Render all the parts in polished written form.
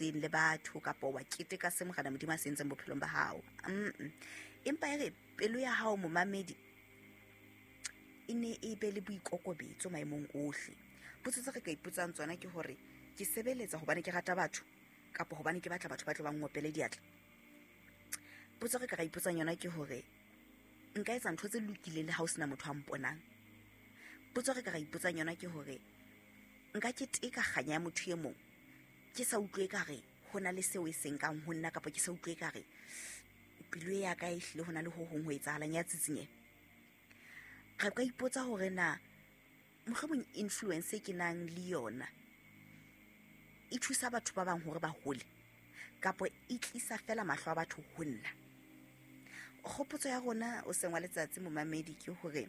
Le batho kapa wa keteka se Morena Modimo a se entseng bophelong ba hao. Empa e re pelo ya hao, momamedi, e ne e be le boikokobetso maemong ohle. Potso tse re ka ipotsang tsona ke hore, ke sebeletsa hobane ke rata batho kapa hobane ke batla batho ba tlo ba ngopele diatla? Potso re ka ra ipotsang yona ke hore, nka etsa ntho tse lokileng le ha o sena motho a mponang? Potso re ka ra ipotsang yona ke hore, nka keteka kganya ya motho e mong ke sa utlwe ekare ho na le seo e seng kang ho nna, kapa ke sa utlwe ekare pelo ya ka e hlile ho na le ho hong ho etsahalang ya tsitsinyeho? Re ka ipotsa hore na mohlomong influence e ke nang le yona e thusa batho ba bang hore ba hole, kapa e tlisa fela mahlo a batho ho nna. Kgopotso ya rona o seng wa letsatsi, momamedi, ke hore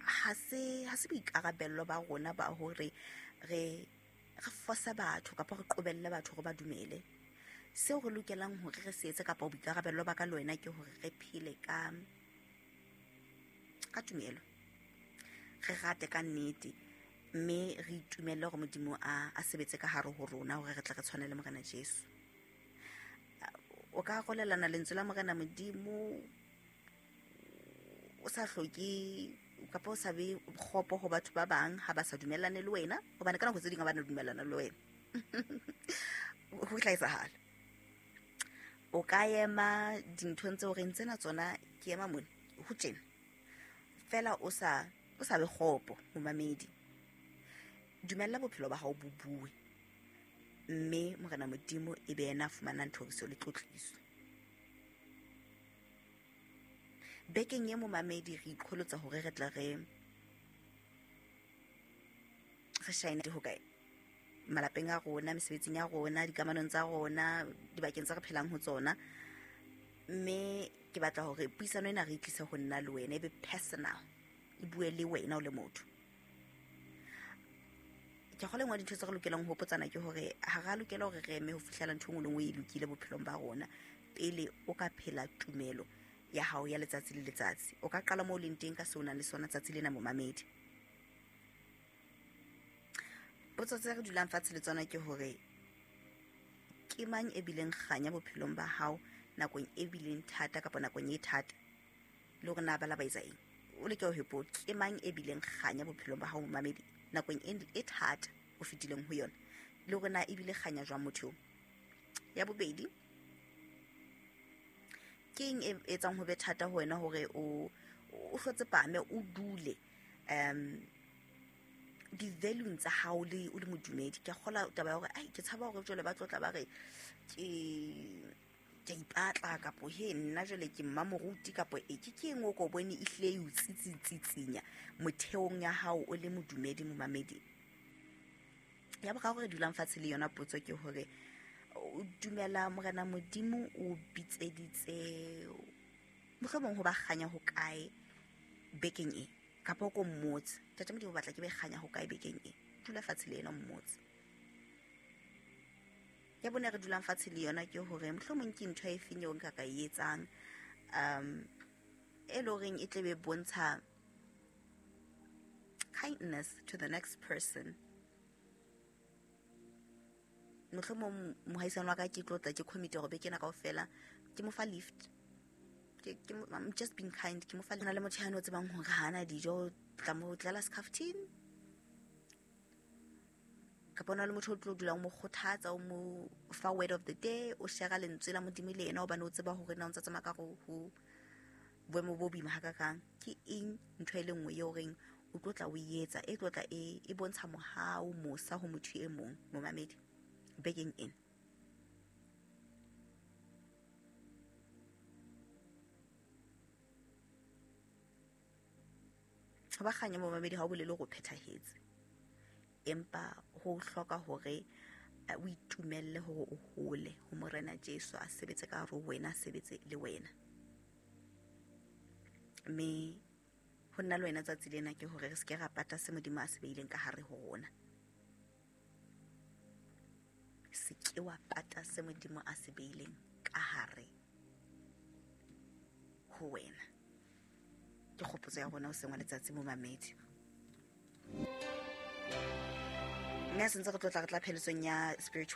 ha se boikarabello ba rona ba hore re fosa batho kapa re qobelle batho hore ba dumele. Seo re lokelang hore re se etse kapa boikarabello ba ka le wena ke hore re phele ka tumelo, re rate ka nnete, mme re itumelle hore Modimo a sebetse ka hare ho rona hore re tle re tshwane le Morena Jesu. O ka arolelana lentswe la Morena Modimo o sa hloke kapa o sa be kgopo ho batho ba bang ha ba sa dumellane le wena, hobane ka nako tse ding ha ba na dumellana le wena. Ho tla etsahala. O ka ema dinthong tseo re ntsena tsona, ke ema mona ho tjena fela, o sa be kgopo, momamedi. Dumella bophelo ba hao bo bue, mme Morena Modimo e be yena a fumanang thoriso le tlotliso. Bekeng e, momamedi, re iqholotsa hore re tla re shine ho kae malapeng a rona, mesebetsing ya rona, dikamanong tsa rona, dibakeng tse re phelang ho tsona. Mme ke batla hore puisano ena re itlise ho nna le wena, e be personal, e bue le wena o le motho. Ke kgolwa engwe dintho tse re lokelang ho hopotsana ke hore ha re a lokela hore re eme ho fihlela ntho e nngwe le nngwe e lokile bophelong ba rona pele o ka phela tumelo ya hao ya letsatsi le letsatsi. O ka qala moo o leng teng ka seo o nang le sona tsatsi lena, momamedi. Potso tse re dulang fatshe le tsona ke hore, ke mang e bileng kganya bophelong ba hao nakong e bileng thata kapa nakong e thata, le hore na ba la ba etsa eng? O leke ho hopola, ke mang e bileng kganya bophelong ba hao, momamedi, nakong e thata o fetileng ho yona, le hore na ebile kganya jwang motho eo? Ya bobedi, ke eng e etsang ho be thata ho wena hore o hlotse pame, o dule di-valueng tsa hao le o le modumedi? Ke a kgola taba ya hore ai, ke tshaba hore jwale ba tlotla ba re ke ipatla, kapo he nna jwale ke mma moruti, kapo e ke eng o ko bone e hlile e o tsitsitsitsinya motheong ya hao o le modumedi, momamedi? Ya boraro re dulang fatshe le yona potso ke hore, o dumela Morena Modimo o bitseditse mohlomong ho ba kganya ho kae bekeng e, kapa o ko mmotse, Ntate Modimo o batla ke be kganya ho kae bekeng e? Dula fatshe le yena o mmotse. Ya bone re dulang fatshe le yona ke hore mohlomong ke ntho e feng eo nka ka e etsang e le horeng e tle be bontsha kindness to the next person. Mohlomong mohaisane wa ka ke tlo tla ke commit hore beke ena kaofela ke mo fa lift. I'm just being kind, ke mo fa le motho ya no tsebang hore ha ana dijo, tla mo tlela skhaftin, kapa ona le motho o tlo dulang mo kgothatsa, o mo fa word of the day, o share lentswe la Modimo le yena, hobane o tseba hore na o ntsa tsamaya ka ho boemo bo boima hakakang. Ke eng ntho e le nngwe eo reng o tlo tla o etsa, e tlo tla e bontsha mohau, mosa ho motho e mong, momamedi, bekeng ena? Ho ba kganya, momamedi, ha o bolele hore o phethahetse, empa ho hloka hore o itumelle hore o hole ho Morena Jesu, a sebetse ka hare ho wena, a sebetse le wena. Mme ho nna le wena tsatsi lena ke hore re se ke ra pata se Modimo a se beileng ka hare ho rona. Se ke wa pata se Modimo a se beileng ka hare ho wena. Ke kgopotso ya rona ho sengwa letsatsi, momamedi. Mme a sentse re tlotla re tla pheletsong ya spirituality.